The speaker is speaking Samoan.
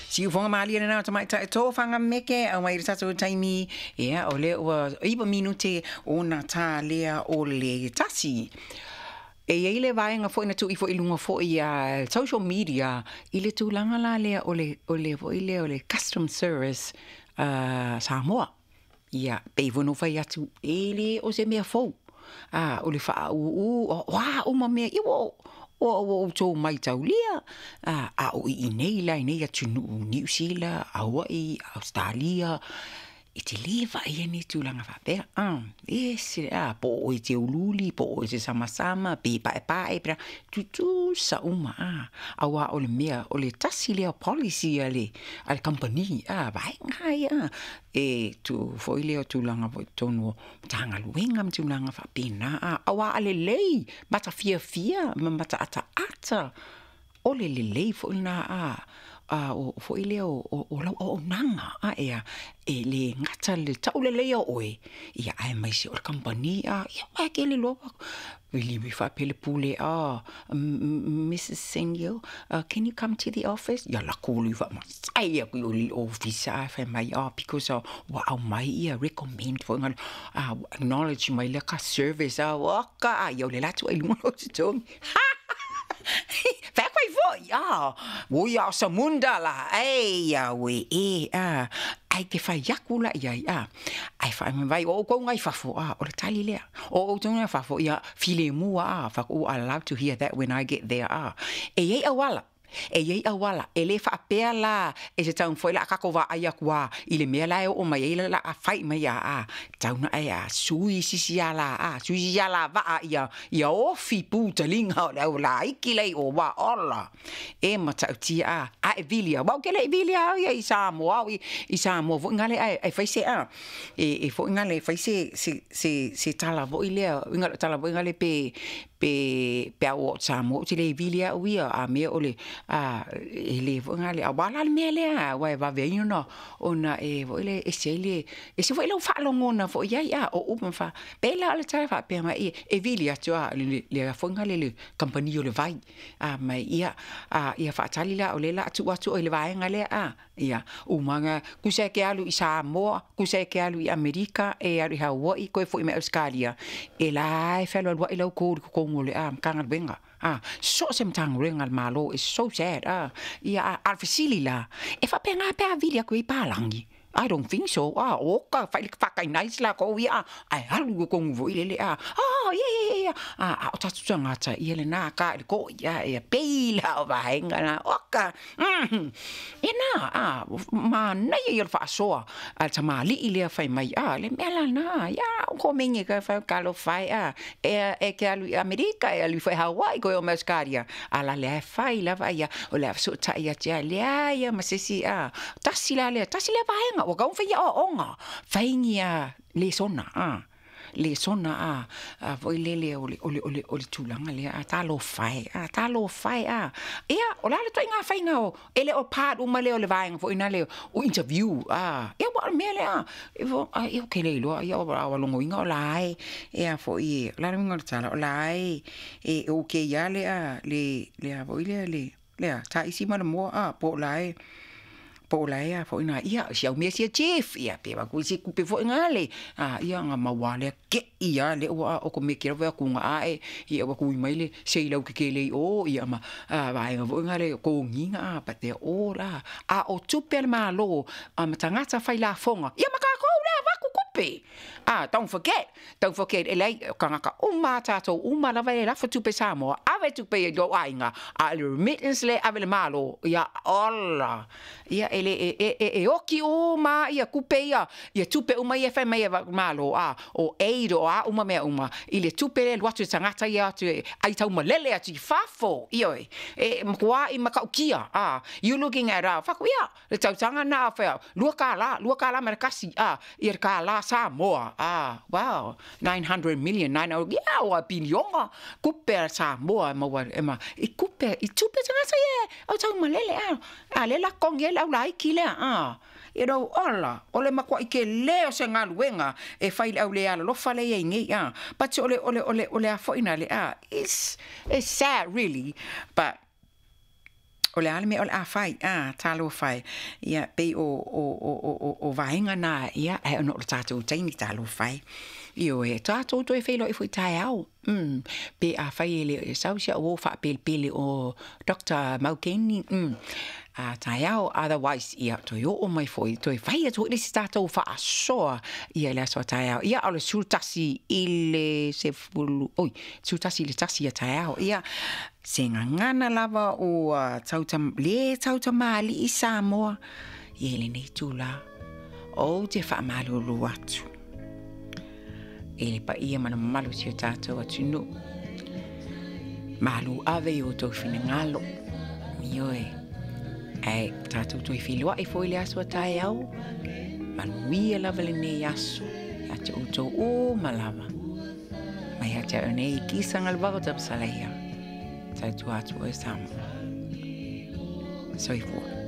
Siufoga malie lena o tamaitai tofaga meke auai i le tatou taimi, ia o lea ua 9 minute ona ta lea o le 1. E i ai le vaega foi na tuu ifo i luga foi a social media i le tulaga la lea o le o le foi lea o le custom service Samoa. Ia, pei foi ona ou fai atu, e le o se mea fou. A, o le faaūū, o a uma mea, ia ua ua outou maitaulia, a o i inei la i nei atunuu, Niu Sila, Hawaii, Ausetalia, e te lē vaaia ni tulaga faapea, e ese a po o oe e te uliuli, po o oe e te samasama, pe paepae, pe tutusa uma, auā o le mea, o le tasi lea o policy a le kamupani, vaega ia, e tuu foi lea o tulaga foi i totonu o Matagaluega ma tulaga faapena, auā a lelei, matafiafia ma mataataata, o le lelei foi lena o foi lea o lau auaunaga, ea, e lē gata i le tauleleia o oe, ia aemaise o le kamupani, ia aua e te le iloa vili faapea le pule, oh, Mrs Senio, can you come to the office? Ia alu atu le faamasai atu i o i le ofisa ae fai mai, oh, because ua aumai ia recommend foi ngalo, acknowledge mai lea ka service, oka, ia o le la atu ai i luga o lou totogi. Fai atu ai foi, ui a o Samunda la, ei auē e, ae te fai atu la i ai, ae faamai o outou na i fafo, o le tali lea, o outou na i fafo, ia filemu lava, fai atu, I love to hear that when I get there, e i ai auala, e i ai auala, e le faapea la e se taumafai la a tatou vaai atu lava i le mea la e oo mai ai la a fai mai a, tau na e a sui sisi ala a, sui sisi ala vaa ia, ia ofi pu taliga o le au laiki lea i o ua ola. E matautia a, a e vili au, au ke le i vili au ia i Samoa, au i Samoa foi ngale ae e fai se a, e foi ngale e fai se se se se tala foi lea, uiga tala foi ngale pe pe pe a oo atu Samoa ou te le vili au ia, a mea o le a e le foi ngale auā la le mea lea, aua e vave ai ona ona e foi le ese ai le ese foi lau faalogona foi i ai a o upu ma fa pei la o le tala faapea mai e vili atu a le le foi ngale le kamupani o le vai a mai ia a ia faatali la o le la tuu atu i le vaega lea a ia umaga tusa e ke alu i Samoa, tusa e ke alu i Amerika, e alu i Hawaii, koe foi mai Ausetalia, e la e fealualuai lau kou i totonu o le a Matagaluega a so o se Matagaluega a le Malo. It's so sad a ia a o le fesili la, e faapena pe a vili atu i ai palagi? I don't think so. A oka fai faatainais lakou ia ae alu i totonu foi lele a oh yeah yeah yeah a o tatou tagata ia lena ka i le koi a ia pei la o vaega na oka e na a manaia ia o le faasoa a le tamalii lea fai mai a le mea lena ia o komeni ka fai talofa e a e ke alu i Amerika e alu foi Hawaii koe o mai Australia a la lea e fai lava ia o le a fesootai atu ia leai a ma se isi a tasi la lea tasi lea vaega ua tatau ona fai aoaoga fai a lesona a lesona a a foi lele o le o le o le o le tulaga lea a talofa e a talofa e a ia o le a le ituaiga faiga o e le o part uma lea o le vaega foi lena o interview a ia ua o le mea lea e ia ou te le iloa ia ua logoina o la e e a foi o le a le uiga o le tala o la e e okay lava le le le a foi lea le lea taisi ma le moa a po o la e po o la e a foi na ia si au mea sia chief ia pe wa ku si kupe foi ngale a ia nga maua lea ke'i lava lea ua o ko mea kela foi atu ga ae ia ua kui mai le sei lau kekele i o ia ma vaega foi nga le kogiga a but they're all a a o tupe a le Malo a ma tagata fai lafoga ia ma tatou lea avatu tupe a don't forget don't forget e leai o tagata uma a tatou uma lava e lafo tupe Samoa ave tupe i lou aiga a o le remittance lea e ave i le Malo ia ola ia e le e e e oki uma ia tupe ia ia tupe uma ia e fai mai e Malo a o aid o a uma mea uma i le tupe lea e alu atu i le tagata ia atu e ai taumalele atu i fafo ioe e matuai matautia a you looking at a fai atu ia le tausaga lena fai atu $2 $2 ma le 1 a ia le kālā Samoa a wow 900 million nine ia ua piliona tupe a Samoa e maua e ma i tupe i tupe tagata ia au taumalele a a lea la totogi ai le au laiti lea a you know ola o le matuai tele o se galuega e fai i le au le alolofa lea e i ai nei a but o le o le o le o le a foi na le a it's it's sad really but. O le a le mea o le a fai, a, talofa e. Ia, pei o, o, o, o, o, o vaega na, ia, ae ona o le tatou taimi, talofa e. Ioe, tatou toe feiloai foi taeao. Pe afai e le o e sau si au uo faapelepele o Doctor Maukeni, a taeao, otherwise, ia, toe oo mai foi, toe fai atu foi le isi tatou faasoa, ia, i le aso a taeao. Ia, o le 11 i le 10, oi, 11 i le 1 ia taeao. Ia, se gagana lava ua tauta, le tautamalii Samoa, ia, i lenei itulā. Ou te faamalulu atu i le paia ma le mamalu o si o tatou atunuu. Malu ave i o outou finagalo. Ioe. Ae tatou toe feiloai foi i le aso a taeao. Manuia lava lenei aso. Ia te outou uma lava. Mai ia te au nei, kisa nga le vava tapasalaia. Tautua atu oe Samoa. Soifua.